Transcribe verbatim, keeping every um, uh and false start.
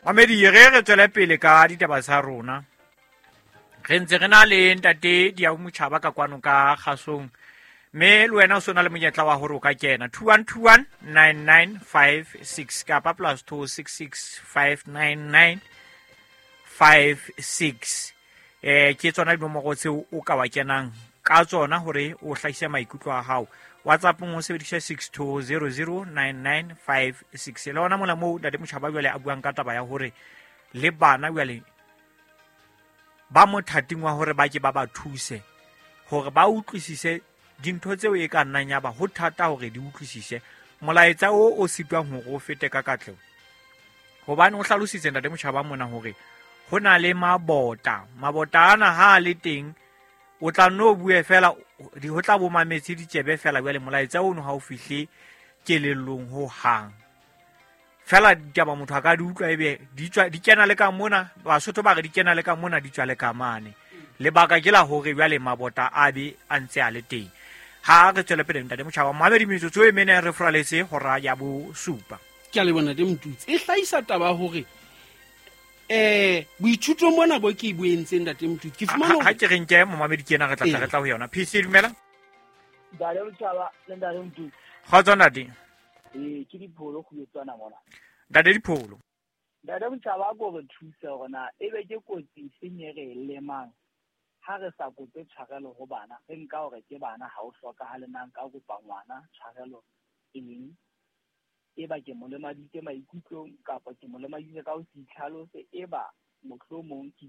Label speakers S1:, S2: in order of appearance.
S1: Mamedi, re re tswele pele ka ditaba tsa rona. Re ntse re na le ntate Diau Motjhaba ka kwano ka kgasong, mme le wena o so na le monyetla wa hore o ka kena two one two one nine nine five six kapa plus two six six five nine nine five six. Eh, ke tsona dinomoro tseo o ka wa kenang ka tsona hore o hlahise maikutlo a hao. WhatsApp-ong o sebedisa six two zero zero nine nine five six. Le hona mona moo ntate Motjhaba jwale a buang ka taba ya hore le bana jwale ba mothating wa hore ba ke ba ba thuse hore ba utlwisise dintho tseo e ka nnang ya ba ho thata hore di utlwisise molaetsa o o sitwang hore o fete ka katleho. Hobane o hlalositse ntate Motjhaba mona hore ho na le mabota, mabota ana ha a le teng o tla nno bue fela, di ho tla bo mametse ditsebe fela, jwale molaetsa ono ha o fihle kelellong ho hang. Fela ditaba motho a ka di utlwa ebe di tswa, di kena le ka mona, Basotho ba re di kena le ka mona, di tswa le ka mane. Lebaka ke la hore jwale mabota a be a ntse a le teng. Ha re tswele pele ntate Motjhaba, mamedi metsotso e mene re furaletse hora ya bosupa.
S2: Ke a leboha ntate Motutsi. E hlahisa taba hore eh boithuto mona bo ke bo entseng ntate Motutsi. Ke fumana
S1: Ha ke re nke momamedi ke ena re tla tla re tla ho yona. P C dumela.
S3: Ntate Motjhaba le ntate Motutsi.
S1: Kgotso ntate.
S3: Eh, ke Dipholo go etswana mona.
S1: Ntate Dipholo.
S3: Ntate Motjhaba a ko re thuse hore na ebe ke kotsi efeng e re e lemang ha re sa kope tshwarelo ho bana, re nka hore ke bana ha o hlokahale na nka kopa ngwana tshwarelo eng, e ba ke mo lemaditse maikutlong kapa ke mo lemaditse ka ho se itlhalose, e ba mohlomong ke